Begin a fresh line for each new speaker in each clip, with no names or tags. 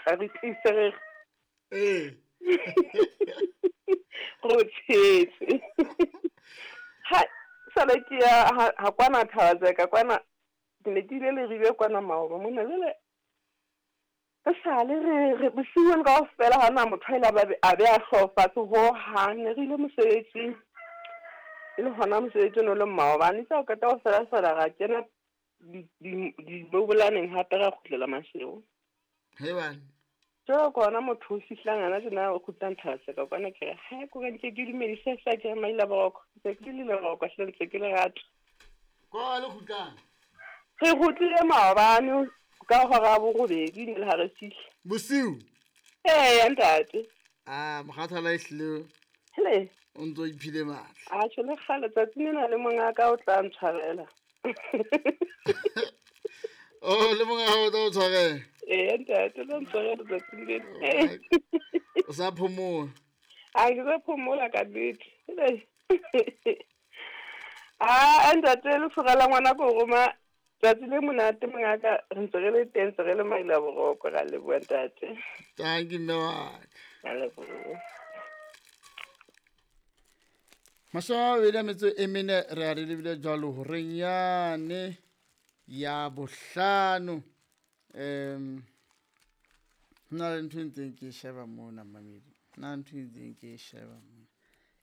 tla re tlise re
Ee.
Go tshetse. Ha sale ke ya ha kwana Thabazeka kwana ke ne ke ile Leribe kwana maoba mona jwale re sale re re bosiung kaofela ha hona motho a ile a be a hlooho fatshe hohang. Ne re ile mosebetsing e le hona mosebetsi o ne o le maobane. Itse ha o qeta ho fela fela ra kena dibobolaneng hape ra kgutlela Maseru.
He bana.
Jwale ke hona motho o fihlang hana tjena o kgutlang Thabaseka kwana ke re hae ko ka nke ke dumedise hle ke re maila boroko. Ntse ke le leroko hle ntse ke le rata.
Ko le kgutlang?
Re kgutlile maobane ka hora ya borobedi ne le ha re fihla.
Bosiu?
Eya ntate.
Ah, mokgathala ehlile
Hele.
o ntso iphile matla.
Atjhe le kgale tsatsing lena le mongaka o tla ntshwarela.
Oh, le monga hao o tla o tshwarela.
Eya ntate, o tla ntshwarela tsatsing lena.
O sa phomola.
A ke sa phomola ka nnete. Ah, ntate lefura la ngwana ko roma tsatsi le monate mongaka re ntse re le teng ntse re le maila boroko ra leboha ntate.
Thank you mme wa ka.
Ra leboha.
24 re a re lebile jwalo horeng yane ya bohlano. Ho na le ntho e ntseng ke e sheba mona mamedi. Ho na le ntho e ntseng ke e sheba mona.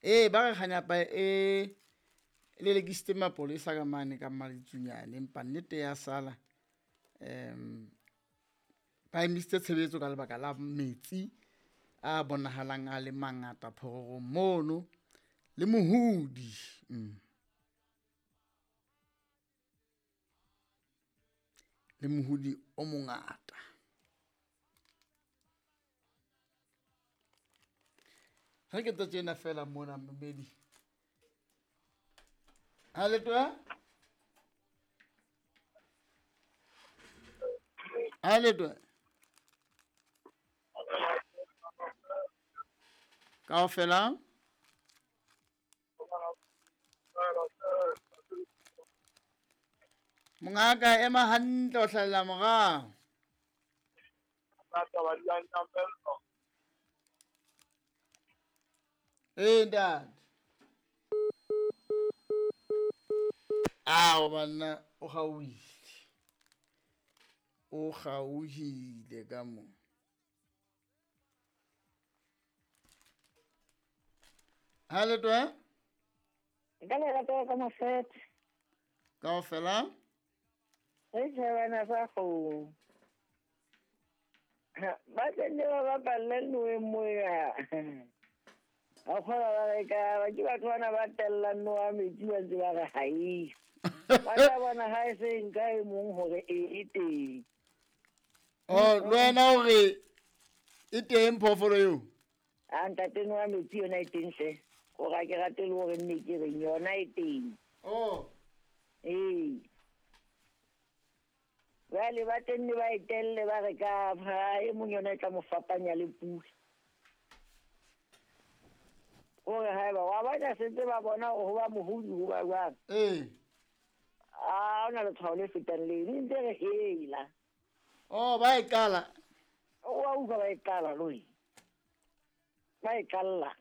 Ee, ba re kganyapa e lelekisitse mapolesa ka mane ka Mmaditsunyane, empa nnete ya sala. Ba emisitse tshebetso ka lebaka la metsi a bonahalang a le mangata phororong mono le mohudi. Le mohudi o mongata. Ha ke tsa tjena fela mona mmedi. Ha le twa? Ha le twa? Kaofela? Mongaka ema hantle o hlahella morao. Ee ntate. Ao banna o kgaohile. O kgaohile ka mo. Ha le twa?
Ka lerato ka mofete.
Kaofela?
Re tjhebana sa kgomo. Ba tenne ba bapalle noweng moya. Ba kgona ba re ka ke batho bana ba tellang nowa metsi ba ntse ba re ha e. Ba tla bona ha e se nka e mong hore e teng.
Oh, le wena hore e teng phoofolo eo?
A ntate nowa metsi yona e teng hle. Hore ha ke rate le hore nne ke reng yona e teng.
Oh.
Ee. Jwale ba tenne ba e telle ba re ka ha e mong yona e tla mo fapanya le pula. Hore haeba wa bona sentse ba bona hore ho ba mohodi ho ba jwang.
Ee.
A ona letshwao le fetang leno ntse re hela.
Oh, ba e qala.
O wa utlwa ba e qala loi. Ba e qalla.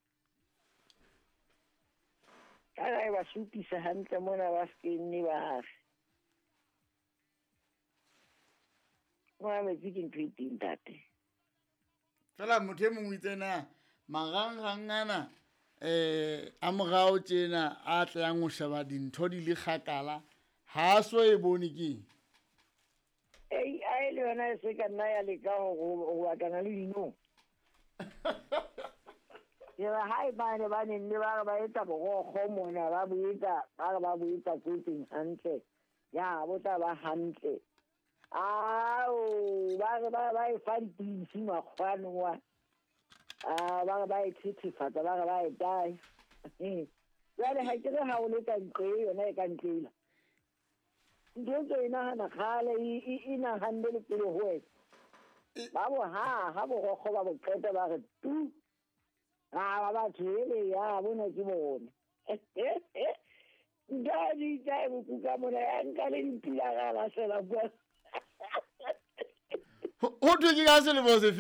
Ka ga e ba supisa hantle mona ba se nne ba re. Mona metsi ke ntho e teng ntate.
Fela motho e mong o itse na marangrang ana a morao tjena a tlang ho sheba dintho di le kgakala ha so e bone ke.
AI le yona e se ka nna ya leka ho batlana le dinong. Ke re ha e bane ba neng le ba re ba etsa borokgo mona ba bo etsa ba re ba bo etsa tsotseng hantle. Ya bo tla ba hantle. Ao ba re ba e fa dipidisi makgwane wa. A ba re ba e thethefatsa ba re ba e tae. Jwale ha ke re ha o le ka ntle yona e ka ntlela. Ntho tse e nahana kgale e nahanne le pele ho wena. Ba bo ha borokgo ba bo qeta ba re tu. A ba batho ele ya bona ke bona. Nka di tsa e bokuka mona ya nka le dipila ga lahlela kwa.
Ho thwe ke ka selemo sefe?